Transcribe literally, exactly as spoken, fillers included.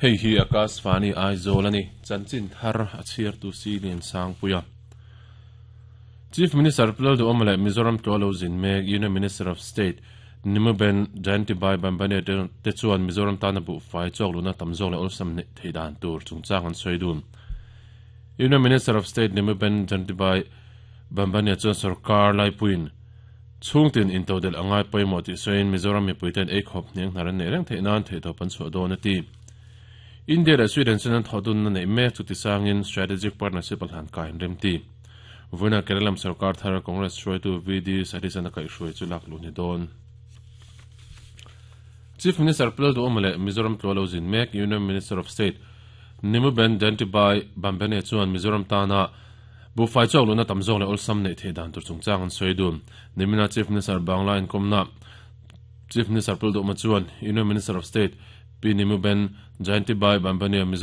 Hei hi Akashvani Aizawl ani chanchin thar a chhiar tu si lian sang puia Chief Minister Lalduhoma leh Mizoram tlawh lo zin mek Union Minister of State Nimuben Jayantibhai Bambhania te chuan Mizoram tana bu fai chawk luna tam zawk leh awlsam nei thei dan tur chungchang an sawi dun. Union Minister of State Nimuben Jayantibhai Bambhania chuan sarkar laipuiin chhungtin intodel angai pawimawh tih sawiin Mizoram mipuiten ei khawp hniang hnar an neih reng theih nan theihtawp an chhuah dawn a ti. India leh Sweden chuan an thawh dun na neih mek chu tisangin strategic partnership a hlan kai an rem ti. Vawiinah Kerala sarkar thar Congress hruaitu V D Satheesan a kaihhruai chu lak luh ni dawn. Chief Minister Lalduhoma leh Mizoram tlawh lo zin mek Union Minister of State Nimuben Jayantibhai Bambhania chuan Mizoram tana buhfai chawk luhna tam zawk leh awlsam neih theih dan tur chungchang an sawi dun. Nimina Chief Minister Bangla inkomna Chief Minister Lalduhoma chuan Union Minister of State P Nimuben Jayantibhai Bambhania Mizoram